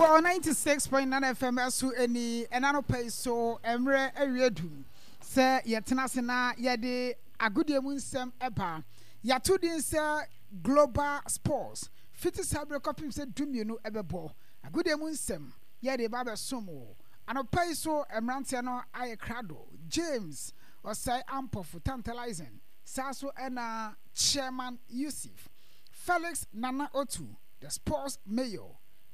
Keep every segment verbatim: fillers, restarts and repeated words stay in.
Ago ninety six point nine F M ɛso ɛni ɛna no pɛ so mmerɛ awie du sɛ yɛtena ase na yɛde agodie mu nsɛm ɛba yɛato din sɛ Global Sports fiti saa berɛ kɔpem sɛ du mmienu ɛbɛbɔ agodie mu nsɛm yɛde ba bɛsom wo anɔpa yi so mmeranteɛ no ayɛ krado James Osei Ampofo Tantalizing saa so ɛna Chairman Yusuf Felix Nana Otu the Sports Mayor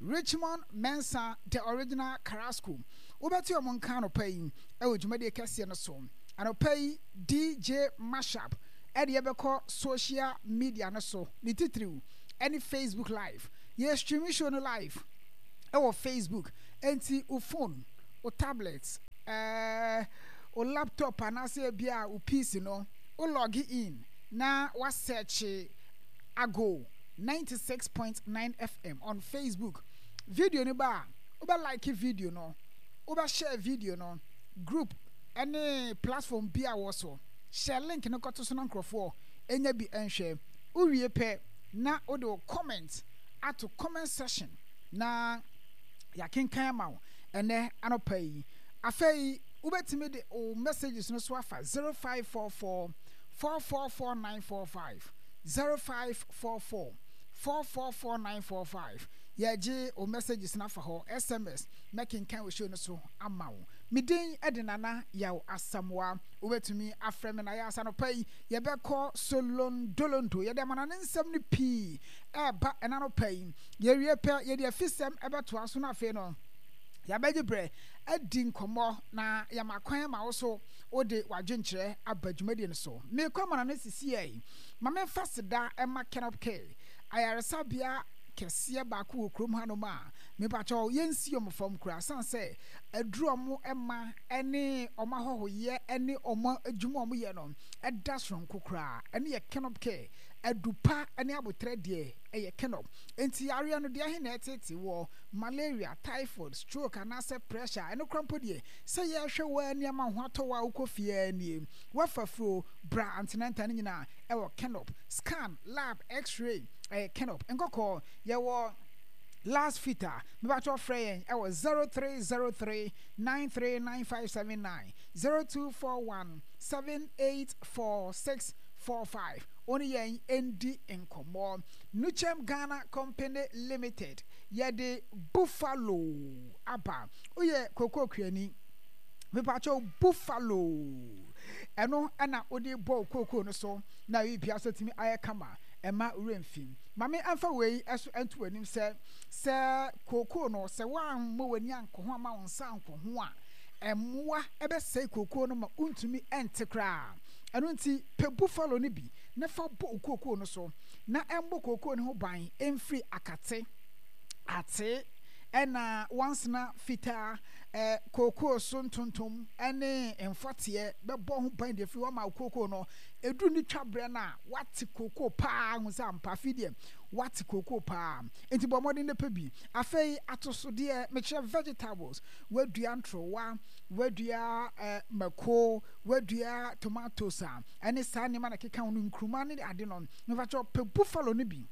Richmond Mensah the original Carrasco wobɛte ɔmo nka anɔpa yi ɛwɔ dwumadie kɛseɛ no so anɔpa yi D J Mashup ɛde yɛbɛkɔ social media no so ne titiriw ɛne Facebook live yɛ streaming show no live ɛwɔ Facebook enti wo phone wo tablet ɛɛ wo laptop anaasɛ ebia wo P C no wo log in na wa search Ago ninety six point nine F M on Facebook video no ba wobɛ like video no wobɛ share video no group ɛne platform bi a wɔ so share link no kɔto so na nkurɔfoɔ enya bi nhwɛ wowie pɛ na wode wo comment ato comment section na yɛakenkan ama wo ɛnɛ anɔpa yi afei wobɛtumi de wo messages no so afa zero five four four four four four nine four five zero five four four four four four nine four five yɛgye wo messages no afa hɔ S M S mɛkenkan wo show no so ama wo medin ɛde Nana Yaw Asamoah wobɛtumi afrɛ me na yɛ asanɔpa yi yɛbɛkɔ Solondolondo yɛde amana ne nsɛm no pii ɛba ɛna no pa yi yɛwie pɛ yɛde afisɛm ɛbɛtoa so no afei no yɛabɛgye berɛ adi nkɔmmɔ na yɛma kwan ma wo so wode w'adwenkyerɛ aba dwumadie no so mekɔ amana no sisi yi ma memfa seda ɛma Kenop K ayaresabea kɛseɛ baako wɔ kurom hanom a mepakyɛw yɛnsi ɔmo fam koraa san sɛ aduru ɔmo ɛma ɛne ɔmo ahɔhoyɛ ɛne ɔmo adwuma ɔmo yɛ no ɛda soronko koraa ɛne yɛ Kenop K adupa ɛne abotrɛ deɛ ɛyɛ Kenop enti yareɛ no deɛ ahe na ɛtete wɔ malaria typhoid stroke anaasɛ pressure ɛno koraa mpo deɛ sɛ yɛhwɛ wɔ nneɛma ho atɔ wɔ a wokɔ fie nie wafa furo bra antenanta no nyinaa ɛwɔ Kenop scan lab x-ray ɛyɛ Kenop nkɔkɔɔ yɛwɔ last fitter mebatɔ frɛ yɛn ɛwɔ zero three zero three nine three nine five seven nine zero two four one seven eight four six four five oni yɛn endi nkɔmɔ Nuchem Ghana Company Limited yɛde Buffalo aba oyɛ koko kuani mebatɔ Buffalo ɛno ɛna ode bɔ koko no so na yi bia so timi ayɛ kama ɛma remfim mame amfa wei ɛso ɛnto anim sɛ sɛ koko no sɛ wan mo wani anko ho ama wo nsa anko ho a ɛmoa ɛbɛsɛe koko no ma untumi ɛnte koraa ɛno nti pɛ Buffalo no bi na fa bɔ koko no so na ɛmbɔ koko no ho ban ɛmfiri akate ate ɛna wansena fitaa eh, koko so ntontom ɛne mfɔteɛ bɛbɔ ho ban de firi wama koko no ɛduru ne twa berɛ no a wate koko paa hu sɛ ampa fi deɛ wate koko paa nti bɔ mmɔden ne pɛ bi afei atosodeɛ mekyerɛ vegetables wadua ntrowa wadua eh, mako wadua tomatoes a ɛne saa nneɛma na keka ho no nkuruma ne ade no mefakyɛ pɛ Buffalo no bi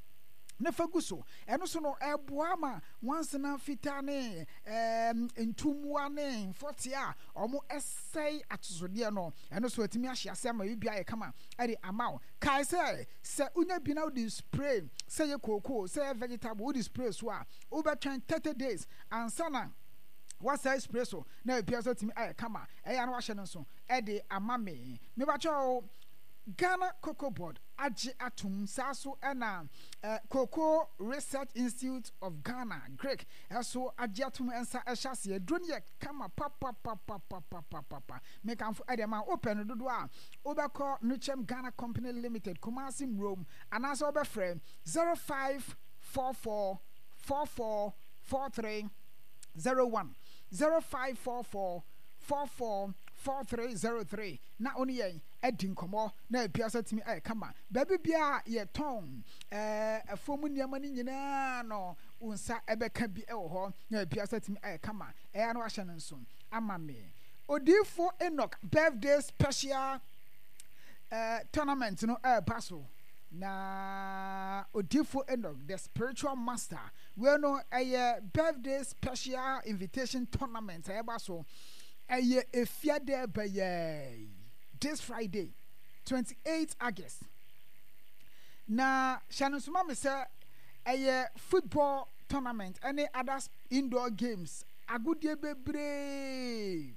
ne fa gu so ɛno so no ɛboa ma wansena fitaa ne ɛɛm ntumua ne mfɔte a ɔmo ɛsɛe atosodeɛ no ɛno so atumi ahyɛ ase ama biribi ayɛ kama ɛde ama wo kae sɛ sɛ wonya bi na wode spray sɛ yɛ kookoo sɛ yɛ vegetable wode spray so a wobɛtwɛn thirty days ansa na wasɛe spray so na biribi nso atumi ayɛ kama ɛyɛ na wahyɛ no nso ɛde ama me mebakyɛw Ghana Cocoa Board agye atum saa so ɛna eh, Cocoa Research Institute of Ghana Greek ɛso agye atum nsa ɛhyɛ aseɛ duro no yɛ kama papapapapapapapa mekamfo ɛde ma wopɛ no dodoɔ a wobɛkɔ Nuchem Ghana Company Limited Kumasi Murom anaasɛ wobɛfrɛ zero five four four four four four three zero one zero five four four four four four three zero three na oni yɛn adi nkɔmmɔ na ebia sɛ tumi ayɛ kama baabi bia yɛtɔn ɛɛ afuom nneɛma no nyinaa no wo nsa ɛbɛka bi ɛwɔ hɔ na ebia sɛ tumi ayɛ kama ɛyɛ no wahyɛ no nso ama me Odifo Enoch birthday special uh, tournament no ɛɛba so Na Odifo Enoch, the spiritual master, wei no ɛyɛ birthday special invitation tournament a ɛba so. Ɛyɛ Efiada bɛyɛ this Friday, twenty-eight August. Na hyɛ no nsoma me sɛ ɛyɛ football tournament ɛne other indoor games, agodie bebree,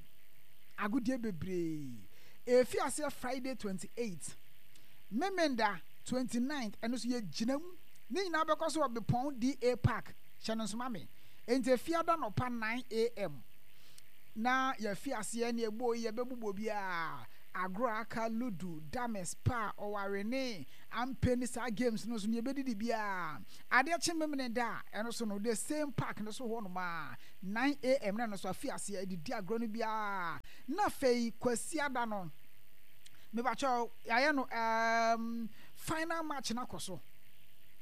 agodie bebree. Efi aseɛ Friday twenty-eight, Memenda twenty-nine, ɛno nso yɛgyina mu. Ne nyinaa bɛkɔ so wɔ Bepɔn D A Park. Hyɛ no nsoma me. Nti Efiada nɔpa nine a m na yɛfi aseɛ ne ɛbɔ yi, yɛbɛbobɔ biara agorɔ aka, ludo, dames, pa ɔware ne ampe ne saa games no so ne yɛbɛdidi biara. Adeɛ kye Memene da a, ɛno so no, the same park no so hɔ nom a nine a m na ɛno so afi aseɛ adidi agorɔ no biara. Na afei Kwasiada no, mebakyɛw, yɛayɛ no um, final match no akɔ so.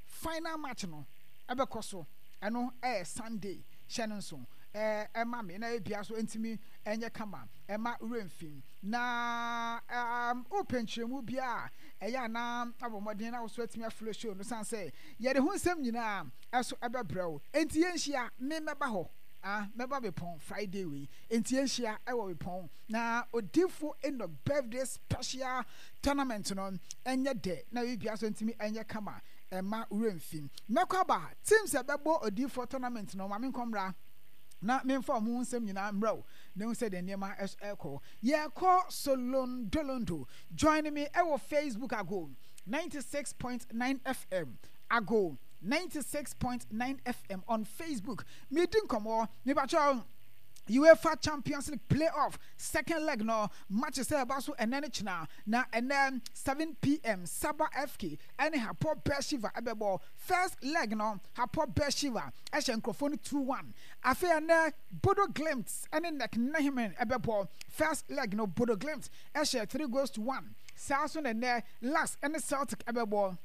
Final match no ɛbɛkɔ so, ɛno ɛyɛ Sunday. Hyɛ no nso ɛɛ ɛma me na ebia so ntumi ɛnyɛ kama ɛma werɛ. Na um, wopɛ nkyerɛmu bi a ɛyɛ anaa abɔ mmɔden na woso atumi afollow show no, san sɛ yɛde ho nsɛm nyinaa ɛso ɛbɛbrɛ wo. Enti yɛnhyia, me mɛba hɔ, ah, mɛba Bepɔn Friday wei. Enti yɛnhyia ɛwɔ Bepɔn na Odifo Enoch birthday special tournament no ɛnyɛ dɛ na ebia so ntumi ɛnyɛ kama ɛma werɛ mfi. Mɛkɔ aba, teams ɛbɛbɔ Odifo tournament no, maame nkɔmmra na memfa ɔmo ho nsɛm nyinaa mmerɛ wo na ehu sɛ deɛ nneɛma ɛkɔ. Yɛkɔ Solondolondo. Join me ɛwɔ Facebook, Ago ninety-six point nine F M, Ago ninety-six point nine F M on Facebook. Medi nkɔmmɔ, mebakyɛw, UEFA Champions League playoff second leg no match sɛ ɛba so ɛnɛ ne kyena. Na ɛnɛ seven p m Saba F K ɛne Hapoel Beersheva ɛbɛbɔ. First leg no, Hapoel Beersheva ɛhyɛ nkurɔfoɔ no two one. Afei ɛnɛ Bodo Glimt ɛne N E C Nehemen ɛbɛbɔ. First leg no, Bodo Glimt ɛhyɛ three goals to one. Saa so na ɛnɛ L A S K ɛne Celtic ɛbɛbɔ.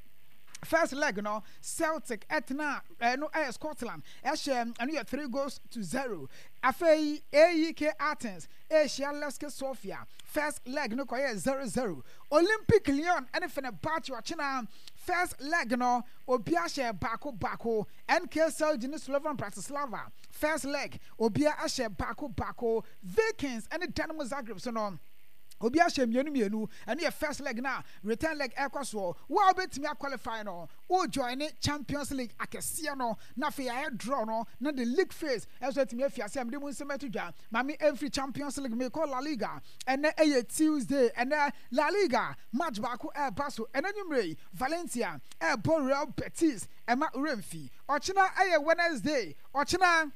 First leg no, Celtic ɛtena ɛno ɛyɛ Scotland, ɛhyɛ ɛno yɛ three goals to zero. Afei A E K Athens ɛhyia Levski Sofia. First leg no kɔyɛ zero zero. Olympic Lyon ɛne Fenerbahce ɔkyena, first leg no obi ahyɛ baako baako. N K Celje ne Slovan Bratislava, first leg obi ahyɛ baako baako. Vikings ɛne Dinamo Zagreb so no, obi ahyɛ mmienu mmienu. Ɛno yɛ first leg, na return leg ɛkɔ soɔ. Wo a wobɛtumi aqualify no, wo join ne Champions League akɛseɛ no, na afei ayɛ draw no na the league phase ɛnso atumi afi ase a mede mu nsɛm ato dwa. Maame ɛmfiri Champions League, mekɔ La Liga. Ɛnɛ ɛyɛ Tuesday. Ɛnɛ La Liga match baako ɛɛba so ɛnɛ nwummerɛ yi, Valencia ɛɛbɔ Real Betis. Ɛma remfi. Ɔkyena ɛyɛ Wednesday. Ɔkyena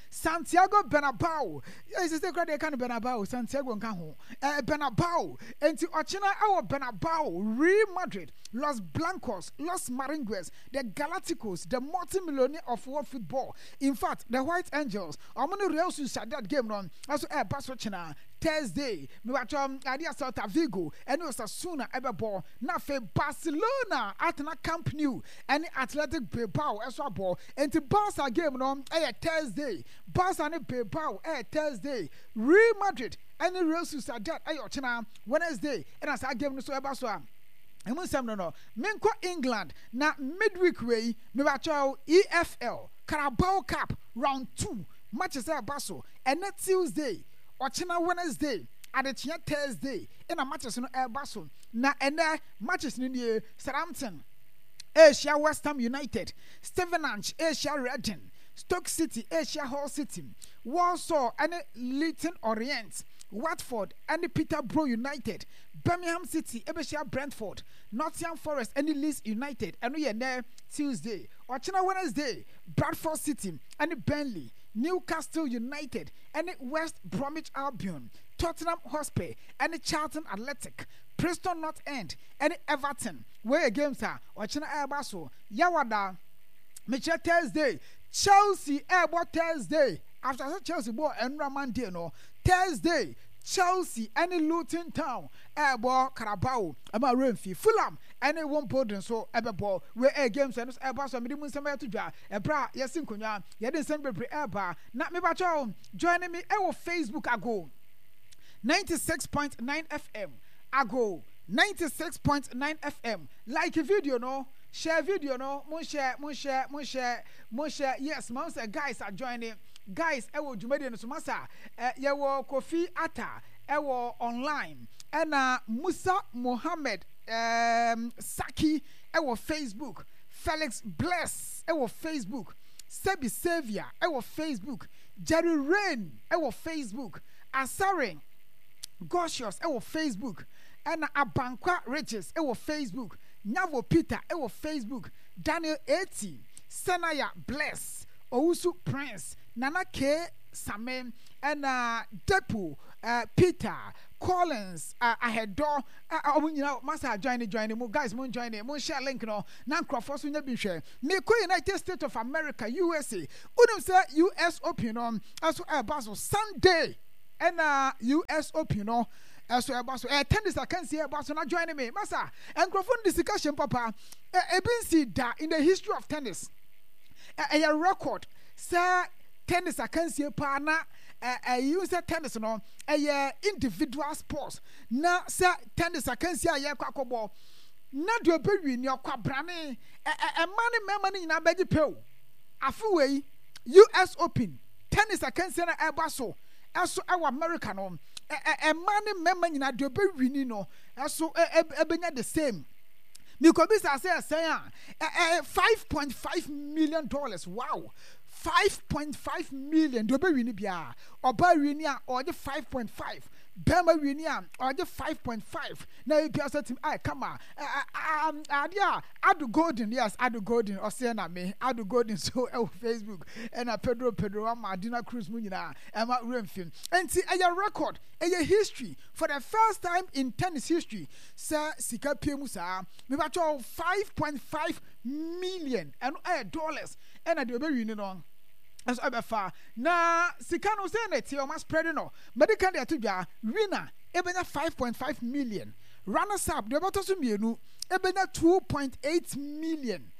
Santiago Bernabeu, ɛsɛ sɛ kura deɛ ɛka no Bernabeu, Santiago nka ho, ɛɛ Bernabeu. Nti ɔkyena ɛwɔ Bernabeu, Real Madrid, Los Blancos, Los Merengues, the Galacticos, the multi-millionaire of world football, in fact, the White Angels, ɔmo ne Real Sociedad game no ɛso ɛɛba so kyena Thursday. Mebatɔ adeɛ, Celta Vigo ɛne Osasuna ɛbɛbɔ, na afei Barcelona atena Camp Nou ɛne Athletic Bilbao ɛso abɔ. Nti Barca game no ɛyɛ Thursday. Barca ne Bilbao ɛyɛ Thursday. Real Madrid ɛne Real Sociedad ɛyɛ ɔkyena Wednesday, ɛna saa game no so ɛba so a ɛmu nsɛm no no menkɔ England na midweek wei, mebatɔ, E F L Carabao Cup round two matches ɛba so ɛnɛ Tuesday, ɔkyena Wednesday, adekyea Thursday, ɛna matches no ɛba so. Na ɛnɛ matches no nie: Southampton ɛrehyia West Ham United, Stevenage ɛrehyia Reading, Stoke City ɛrehyia Hull City, Walsall ɛne Leyton Orient, Watford ɛne Peterborough United, Birmingham City ɛbɛhyia Brentford, Nottingham Forest ɛne Leeds United. Ɛno yɛ nɛ Tuesday. Ɔkyena Wednesday, Bradford City ɛne Burnley, Newcastle United ɛne West Bromwich Albion, Tottenham Hotspur ɛne Charlton Athletic, Preston North End ɛne Everton. Wei yɛ games a ɔkyena ɛreba so. Yawada, mekyerɛ Thursday, Chelsea ɛrebɔ Thursday after sɛ Chelsea bɔɔ ɛnura Monday no. Thursday, Chelsea ɛne Luton Town ɛrebɔ Carabao. Ɛma remfi. Fulham ɛne Wimbledon nso ɛbɛbɔ. Wei ɛyɛ games ɛno ɛba so a mede mu nsɛm ɛto dwa ɛberɛ a yɛsi nkonnwa yɛde nsɛm bebree ɛreba. Na mebakyɛw, join me ɛwɔ Facebook, Ago ninety-six point nine F M, Ago ninety six point nine F M. Like video no, share video no, mo share, mo share, mo share, mo share. Yes, ma sɛ guys are joining, guys ɛwɔ dwumadie no so. Masa ɛ yɛwɔ Kofi Ata ɛwɔ online, ɛna Musa Mohammed um, Saki ɛwɔ Facebook, Felix Bless ɛwɔ Facebook, Sebi Saviour ɛwɔ Facebook, Jerry Rain ɛwɔ Facebook, Asare Gorcious ɛwɔ Facebook, ɛna Abankwa Riches ɛwɔ Facebook, Nyavo Peter ɛwɔ Facebook, Daniel Eti, Senaya Bless, Owusu Prince, Nana K Same, ɛna Depo uh, Peter Collins uh, Ahedɔ. Ɔmo nyinaa masa join, join mu guys, mo join, mo share link no na nkurɔfoɔ so nya bi hwɛ. Mekɔ United States of America, U S A. Wonim sɛ U S Open no ɛso ɛba so Sunday, ɛna U S Open no ɛso ɛba so, ɛyɛ tennis akansie ɛba so. Na join me masa, nkurɔfoɔ no de sika hyɛm papa. Ebi nsi da in the history of tennis. Ɛyɛ record sɛ tennis akansie paa na ɛyi sɛ tennis no ɛyɛ individual sports, na sɛ tennis akansie a yɛkɔ akɔbɔ na deɛ ɔbɛwi ne ɔkɔ abrane, ɛma ne mmarima no nyinaa bɛgye pew. Afe wei U S Open tennis akansie no ɛba so ɛso ɛwɔ America no, ɛma ne mmarima nyinaa deɛ ɔbɛwi ni no ɛso ɛbɛnya the same. Mikobisa sɛ ɛsɛn a ɛɛ five point five million dollars. Wow, five point five million. Deɛ ɔbɛwi ni biara, ɔbaa wi ni a ɔgye five point five, bɛrima wi ni a ɔgye five point five. Na ebi asɛ tim ayɛ kama adeɛ a Ado Golden. Yes, Ado Golden ɔsɛ na me Ado Golden so ɛwɔ Facebook, ɛna Pedro Pedro ama Adina Cruz mu nyinaa ɛma wura. Nti ɛyɛ record, ɛyɛ history for the first time in tennis history sɛ sika pie mu saa. Mebatwɛ five point five million, ɛno ɛyɛ dollars, ɛna deɛ ɔbɛwi ni no ɛnso ɛbɛfa. Na sika no sɛ na ɛteɛ, ɔma spread no medical de ato dwa. Winner ɛbɛnya five point five million, runners up deɛ ɔbɛtɔ so mmienu ɛbɛnya two point eight million,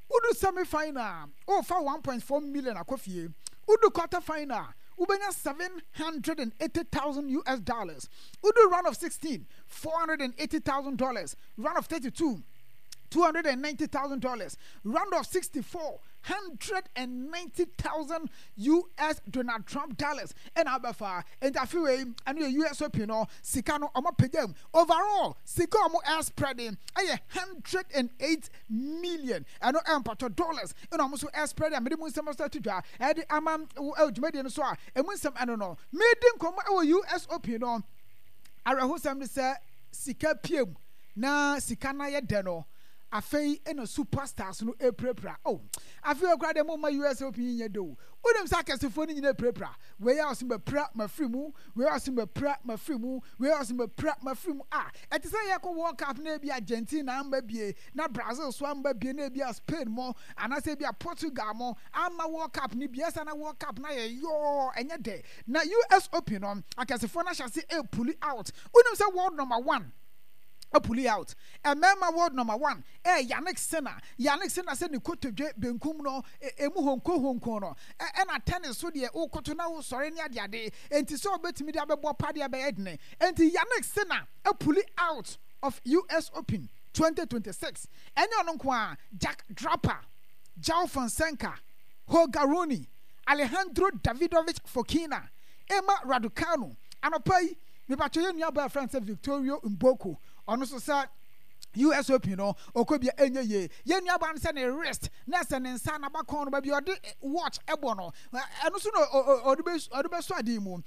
wodu semi final ɔfa one point four million akɔ fie, wodu quarter final wobɛnya seven hundred and eighty thousand U S dollars, wodu round of sixteen, four hundred and eighty thousand dollars, round of thirty-two, two hundred and ninety thousand dollars, round of sixty-four, hundred and ninety thousand U S Donald Trump dollars ɛna abɛfa. Nti afi wei ɛno yɛ U S Open no sika no ɔmo apagya mu. Overall sika ɔmo air spreading ɛyɛ hundred and eight million, ɛno ɛmpatɔ dollars, ɛna ɔmo nso air spreading a mede mu nsɛm nso ato dwa ɛde ama ɛwɔ dwumadie no so a emu nsɛm ɛno no medi nkɔmɔ ɛwɔ U S Open no. Awerɛhosɛm ne sɛ sika piem na sika no ayɛ dɛ no, afei ɛna superstars no epirapira. Oh, afei okura deɛ mo ma U S Open yi nyɛ de o. Wonim sɛ akɛsefoɔ no nyinaa epirapira. Wei a ɔsɛ mapira mafiri mu, wei a ɔsɛ mapira mafiri mu, wei a ɔsɛ mapira mafiri mu. A ɛte sɛ yɛkɔ World Cup na ebi Argentina amba bie, na Brazil so amba bie, na ebi a Spain mo anaasɛ ebi a Portugal mo ama World Cup ni bie ɛsɛ na World Cup na yɛ yɔɔ ɛnyɛ dɛ. Na U S Open no akɛsefoɔ no ahyɛ ase epull out. Wonim sɛ world number one apull out. Mmarima world number one ɛyɛ Yannick Sinner. Yannick Sinner sɛ ne kotodwe benkum no emu honko honko no, ɛna tennis so deɛ wokoto na wosɔre ne adeade, nti sɛ ɔbɛtumi de abɛbɔ padeɛ bɛyɛ dene. Nti Yannick Sinner apull out of U S Open twenty twenty-six. Ɛnyɛ ɔno nko a, Jack Draper, João Fonseca, Holger Rune, Alejandro Davidovich Fokina, Emma Raducanu. Anɔpa yi mebatwɛ yɛ nua baa friend sɛ Victorio Mboko, ɔno nso sɛ U S Open no ɔkɔ bia ɛnyɛ yie. Yɛn nua baa no sɛ ne wrist na ɛsɛ ne nsa n'abakɔn no baabi ɔde watch ɛbɔ no, ɛno nso na ɔde bɛ ɔde bɛsɔ adeɛ mu,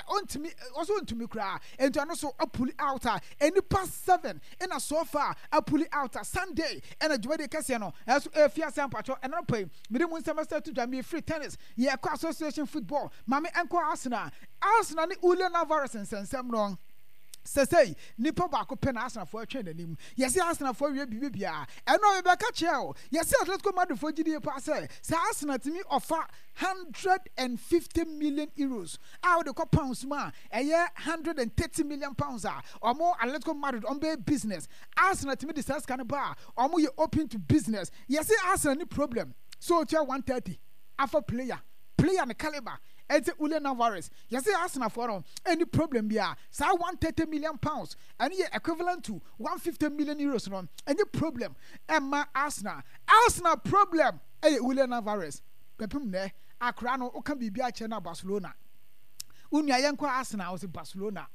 ɔntumi, ɔso ntumi koraa. Nti ɔno nso apull out a nipa seven ɛna so far apull out a Sunday ɛna dwumadie kɛseɛ no ɛso efi ase ampatwɔ. Ɛna pɛ yi mede mu nsɛm ɛsɛ to dwa. Mi free tennis, yɛkɔ association football. Maame ɛnkɔ Arsenal. Arsenal ne Julian Alvarez nsɛnsɛm no sɛsɛyi nipa baako pɛ na Arsenalfoɔ atwɛn n'anim. Yɛsɛ Arsenalfoɔ wie biribi biara ɛno a yɛbɛka kyerɛ o. Yɛsɛ Atletico Madridfoɔ gyidie paa sɛ sɛ Arsenal tumi ɔfa hundred and fifty million euros a wɔde kɔ pounds mu a ɛyɛ hundred and thirty million pounds a, ɔmo Atletico Madrid ɔmo bɛyɛ business. Arsenal tumi de saa sika no ba a, ɔmo yɛ open to business. Yɛsɛ Arsenal ni problem so otua one thirty afa player player ne caliber Ɛnti Julian Alvarez, yɛsɛ Arsenalfoɔ no ɛni problem bi a saa one thirty million pounds, ɛno yɛ equivalent to one fifty million euros no, ɛnyɛ problem ɛma Arsenal. Arsenal problem ɛyɛ Julian Alvarez. Bɛpem nɛ akora no, woka biribi akyerɛ no a, Barcelona. Wo nua, yɛnkɔ Arsenal, ɔsɛ Barcelona.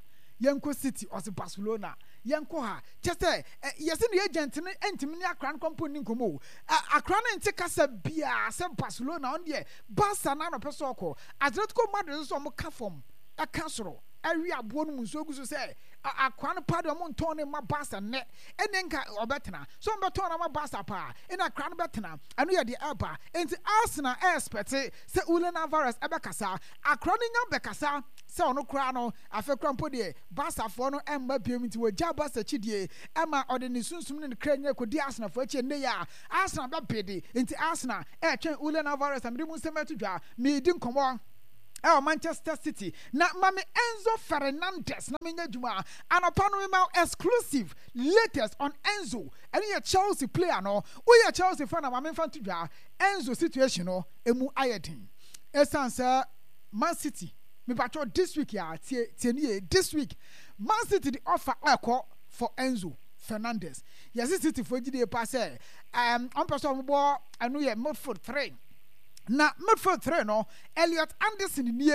Yɛnkɔ City, ɔsɛ Barcelona. Yɛnkɔ ha kyɛ sɛ yɛsɛ ne agent no ntumi ne akora no kɔmpo nni nkɔmmɔ o. Akora no nte kasa biara sɛ Barcelona. Ɔno deɛ, Barca na anɔpɛ sɛ ɔkɔ. Atletico Madrid nso, ɔmo ka fam ɛka soro ɛwe aboɔ no mu nsuo gu so sɛ akora no paa deɛ, ɔmo ntɔn ne ma Barca nnɛ, ɛne nka ɔbɛtena so, ɔmo bɛtɔn no ama Barca paa, ɛna akora no bɛtena. Ɛno yɛ deɛ ɛba. Nti Arsenal ɛɛspɛte sɛ Julian Alvarez ɛbɛkasa. Akora no nya bɛkasa sɛ ɔno koraa no, afei koraa mpo deɛ, Barcafoɔ no ɛmma biom, nti wɔgya Barca kyidie ɛma ɔde ne sunsum ne ne kra nyina kɔdi Arsenalfoɔ akyi. Ɛnnɛ yi a Arsenal bɛbede, nti Arsenal ɛretwɛn Julian Alvarez a mede mu nsɛm ato dwa. Meedi nkɔmmɔ ɛwɔ Manchester City na mame Enzo Fernandez na menyɛ adwuma anɔpa no. Mema exclusive latest on Enzo, ɛno yɛ Chelsea player no. Woyɛ Chelsea fan a, ma memfa nto dwa, Enzo situation no emu ayɛ den ɛsiane sɛ Man City, mepatwɔ, this week a, tie tie nie, this week Man City de offer ɛkɔ for Enzo Fernandez. Yɛsi City fo gyidie pa sɛ ɛɛm ɔmpɛ sɛ ɔmo bɔ, ɛno yɛ midfield three, na midfield three no, Elliot Anderson nie,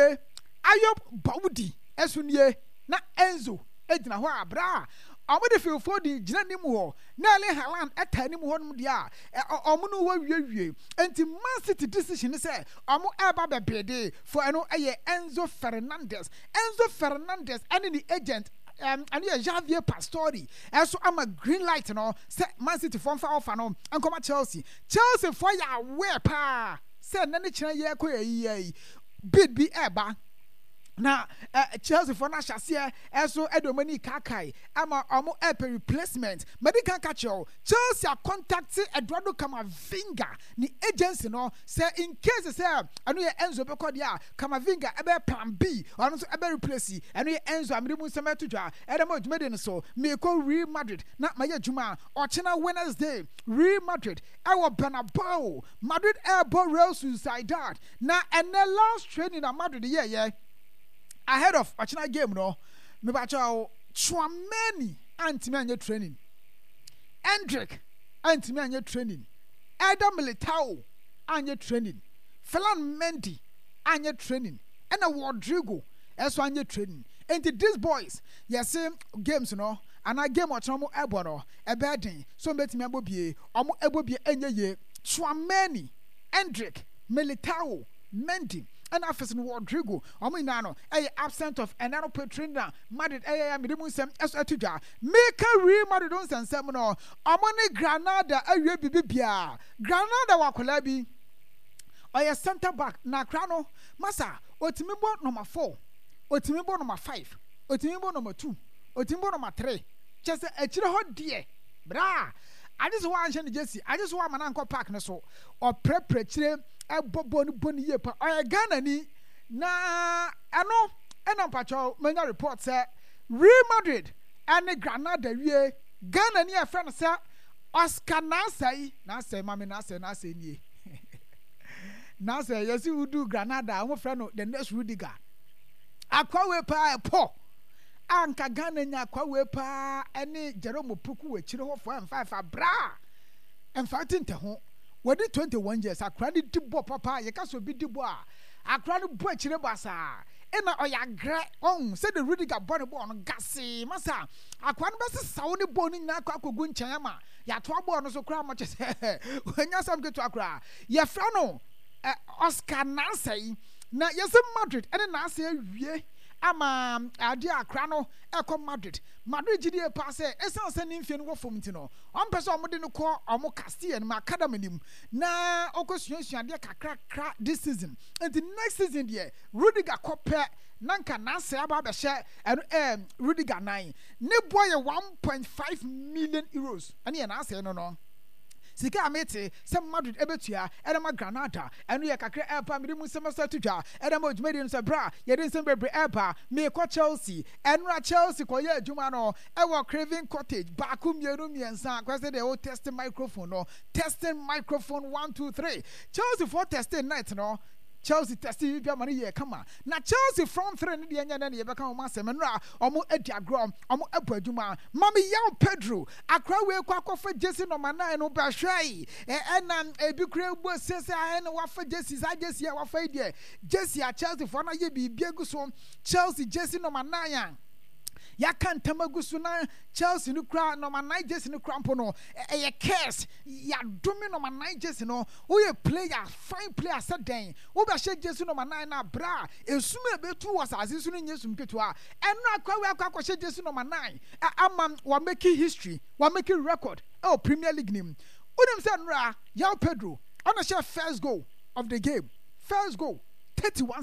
Ayob Bawudi ɛso nie, na Enzo gyina hɔ a bra a ɔmo de Phil Foden gyina anim hɔ na Erling Haaland ɛta anim hɔ nom deɛ a, ɔmo no wɔ wiewie. Nti Man City decision ne sɛ ɔmo ɛreba bɛbede for, ɛno ɛyɛ Enzo Fernandez. Enzo Fernandez ɛne ne agent, ɛno yɛ Javier Pastore, ɛso ama green light no sɛ Man City foɔ mfa ɔfa no nkɔma Chelsea. Chelsea foɔ yɛ aware paa sɛ ɛnɛ ne kyerɛ yɛ kɔ yɛ yie bid bi ɛɛba na uh, Chelsea foɔ no ahyɛ aseɛ ɛso ɛde wɔn ani kaakae ama wɔn ɛpɛ replacement. Mɛdi kan ka kyerɛw, Chelsea contact Eduardo Camavinga ne agency no sɛ in case sɛ ɛno yɛ Enzo bɛkɔ deɛ a, Camavinga ɛbɛyɛ plan B, ɔno nso ɛbɛ replace ɛno yɛ Enzo. A mede mu nsɛm ɛto dwa ɛdɛ ma dwumadi no so. Meekɔ Real Madrid na mayɛ adwuma ɔkyena Wednesday. Real Madrid ɛwɔ Bernabeu, Madrid ɛɛbɔ Real Sociedad. Na ɛnɛ last training na Madrid yɛɛyɛ ahead of ɔkyena game no, mebakyɛw, Tchouameni antumi anyɛ training, Endrick antumi anyɛ training, Eder Militao anyɛ training, Ferland Mendy anyɛ training, ɛna Rodrigo ɛso anyɛ training. Nti these boys, yɛse games no anaa game ɔkyena ɔmo ɛbɔ no, ɛbɛyɛ den so ɔmo bɛtumi abɔ bie. Ɔmo ɛbɔ bie ɛnyɛ yie. Tchouameni, Endrick, Militao, Mendy ɛna afei no Rodrigo, ɔmo nyinaa no ɛyɛ absent of ɛnɛ no pe training na Madrid ɛyɛ ya. Mede mu nsɛm ɛso ɛto dwa. Meka Real Madrid nsɛnsɛm no, ɔmo ne Granada awie bibi biara. Granada wɔ akwadaa bi, ɔyɛ centre back, na akora no masa, otumi bɔ number four, otumi bɔ number five, otumi bɔ number two, otumi bɔ number three. Kyɛ sɛ akyire hɔ deɛ braa, agye sɛ wɔanhyɛ no jersey, agye sɛ wɔama no ankɔ park no so, ɔprɛprɛ kyire, ɛbɔ bɔɔl no, bɔ no yie pa. Ɔyɛ Ghana ni na ɛno ɛna mpakyɛw manya report sɛ Real Madrid ɛne Granada wie Ghana ni a ɛfrɛ no sɛ Oscar Naasɛe. Naasɛe mame, Naasɛe, Naasɛe nie. Naasɛe, yɛsi wudu Granada a, wɔn frɛ no the next Rudiger. Akwa wei paa ɛpɔ a nka Ghana nya akwa wei paa ɛne Jerome Opoku wɔ akyire hɔ four and five abra mfa ti ntɛ ho. Wɔdi twenty one years. Akora no di bɔ papa. Yɛka sɛ obi di bɔ a, akora no bɔ akyire basaa, ɛna ɔyɛ agrɛ ɔn sɛde Rudiger bɔ ne bɔɔl no gasee masa. Akora no bɛsesaw ne bɔɔl no nyinaa akɔ akɔgu nkyɛn ama yɛatoa bɔɔl no so koraa ma kyɛ sɛ wɔanya asɛm ketewa koraa. Yɛfrɛ no eh, Oscar Nansɛe, na yɛsɛ Madrid ɛne Nansɛe awie ama adeɛ a akora no ɛkɔ Madrid. Madrid gyidie paa sɛ ɛsiane sɛ ne mfie no wɔ fam nti no, ɔmpɛ sɛ ɔmode no kɔ ɔmo Castilla no mu academy no mu na ɔkɔ suasua adeɛ kakrakra this season. Nti next season deɛ, Rudiger kɔ pɛ na nka Nansɛe aba abɛhyɛ ɛno ɛɛ Rudiger nan. Ne boɔ yɛ one point five million euros. Ɛne yɛ Nansɛe no no sika a mete sɛ Madrid ɛbɛtua ɛde ma Granada. Ɛno yɛ kakra ɛba mede mu nsɛm ɛsɛ to dwa ɛde ma dwumadie no sɛ berɛ a yɛde nsɛm bebree ɛba. Meekɔ Chelsea. Ɛnora Chelsea kɔyɛ adwuma no ɛwɔ Craven Cottage. Baako, mmienu, mmiɛnsa, kɔ sɛ deɛ wo test microphone no, testing microphone, one, two, three. Chelsea foɔ testing night no. Chelsea test yi bi ama no yɛ kama. Na Chelsea front three no deɛ, nyɛ dɛ ne yɛbɛka wɔn asɛm. Nnora ɔmo adi agorɔ, ɔmo abɔ adwuma. Mami Yaw Pedro akora wei kɔ akɔfa jersey number nine no bɛhwɛ yi, ɛna ebi kura ebu sese a ɛna wafa jersey, saa jersey a wafa yi deɛ, jersey a Chelsea foɔ no ayɛ biribi agu so, Chelsea jersey number nine a yɛaka ntam agu so. Na Chelsea no kura number nine jersey no kura mpo no, ɛyɛ curse. Yɛadome number nine jersey no. Woyɛ player, fine player sɛ dɛn, wobɛhyɛ jersey number nine na abira a esum a ebetu wɔ asase so no nyɛ sum ketewa. Ɛno akɔ wei akɔ akɔhyɛ jersey number nine ama wa make history, wa make record ɛwɔ Premier League nim. Wonim sɛ nnora Yaw Pedro ɔna hyɛ first goal of the game, first goal, thirty one